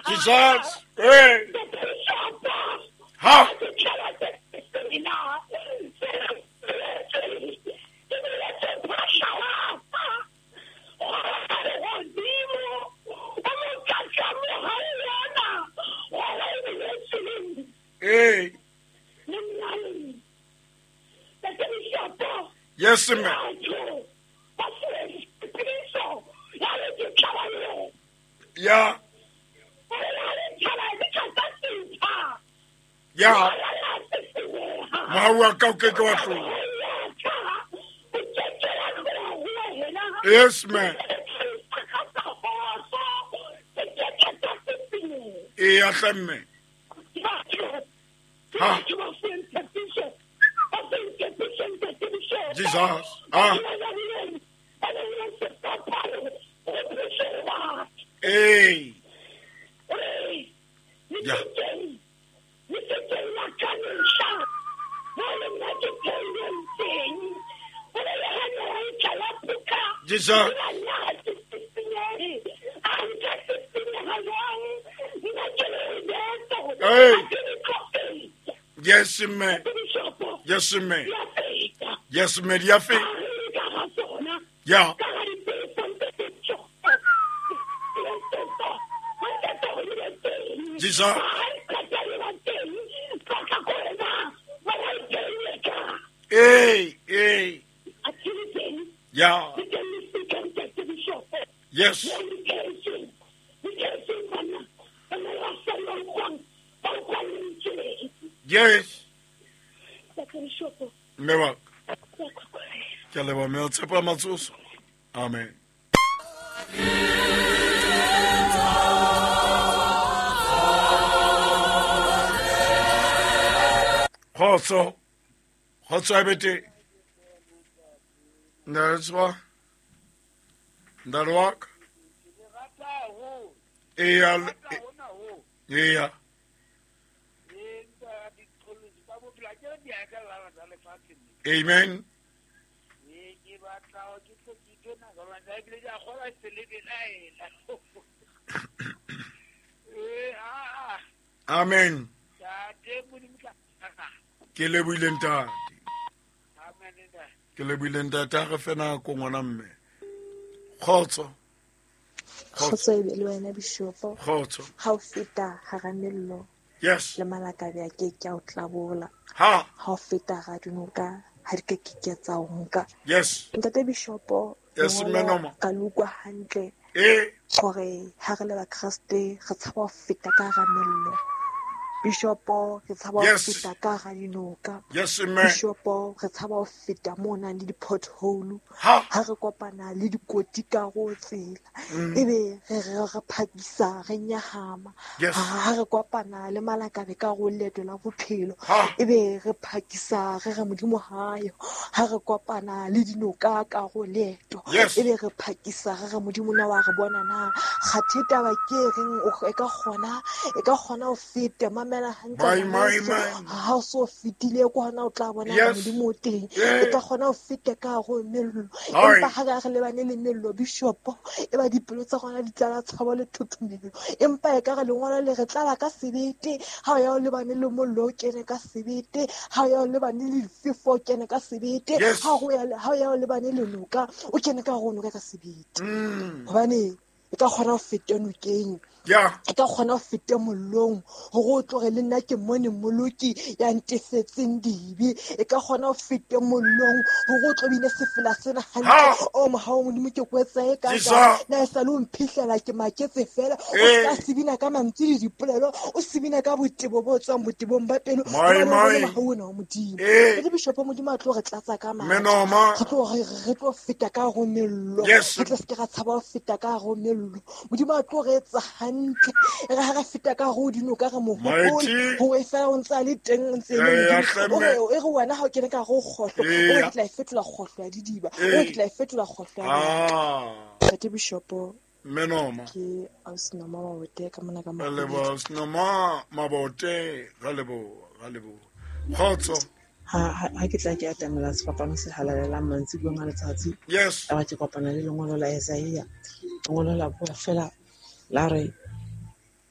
Jesus. Hey. Ha. Hey. Yes, ma'am. Yeah. Yeah. Yes, ma'am. Yes, ma'am. Ha. Jesus. Ah. Hey. Yeah. Jesus. Hey. Yes, man. Yes, man. Yes, man. Yeah. Jesus. Hey, hey. Yeah. Yes. Yes. Mme ke a leboha mme tshepo ya matsoso. Amen. Kgotso. Kgotso a bete. Nda Ntate wa ka. Eya. Eya. Amen. Amen. Ke lebohile ntate. Ke lebohile ntate a re fe nako ngwana mme. Kgotso. Kgotso e be le wena bishopo. Kgotso. Ha o feta hara mello. Yes. Le malakabe a ke ke a o tlabola. Ha. Ha o feta hara dinoka ha di ke ke tsa o nka. Yes. Ntate bishopo. Yes, mme ka le utlwa hantle. Eh. Hore ha re le ba Kreste re tshaba ho feta ka hara mello. Bishopo re tshaba ho feta ka hara dinoka. Yes, mme. Bishopo re tshaba ho feta mo nang le di-pothole. Ha. Ha re kopana le dikoti ka ho tsela. Ebe re re phakisa re nyahama. Yes. Ha re kopana le malakabe ka ho leeto la bophelo. Ha. Ebe re phakisa re re Modimo hayo. Ha re kopana le dinoka ka ho leeto. Yes. Ebe re phakisa re re Modimo na wa re bona na. Kgathe taba ke reng e ka kgona ho feta mamela hantle. Ha o so fetile ko hona o tla bona Modimo o teng. E ka kgona ho feta ka ho mello. Empa ha re lebane le mello bishopo e ba dipelo tsa rona di tlala tshabo le thothomelo. Empa e ka re lengolo le re tlala ka sebete. Ha o ya o lebane le mollo o kene ka sebete. Ha o ya o lebane le difefo o kene ka sebete. Ha o ya o lebane le noka o kene ka ho noka ka sebete. Hobane e ka kgona ho feta nokeng. Yeah. E ka kgona ho feta mollong hore o tloge le nna ke mone mmoloki ya ntefetseng dibe. E ka kgona ho feta mollong hore o tlo bine sefela sena hantle. O mohau Modimo ke kwetsa e ka na e sa le o mphihlela ke maketse fela. O ka sebina ka mantswe le dipolelo, o sebina ka botebo bo tswang botebong ba pelo. Mohau ona wa Modimo. Le bishopo Modimo a tlo re tlatsa ka matla. Re tlo feta ka ho mello. Re tla se ke ra tshaba ho feta ka ho mello. Modimo a tlo re etsa hantle. Re ha re feta ka ho dinoka re mohopole ho e fela o ntse le teng o ntse le Modimo. O re wena ha o kene ka ho kgohlo, o re tla e fetola kgohlo ya didiba, o re tla e fetola kgohlo ya. Ntate bishopo Menoma. Ke Ausnoma Mabote ka mona ka Mabote. Lebo Ausnoma Mabote ga lebo. Kgotso. Ha ke tla ke atamela sefapano se halalelang mantsibueng a letsatsi. Yes. A ke kopana le lengolo la Isaiah. Lengolo la bua fela la re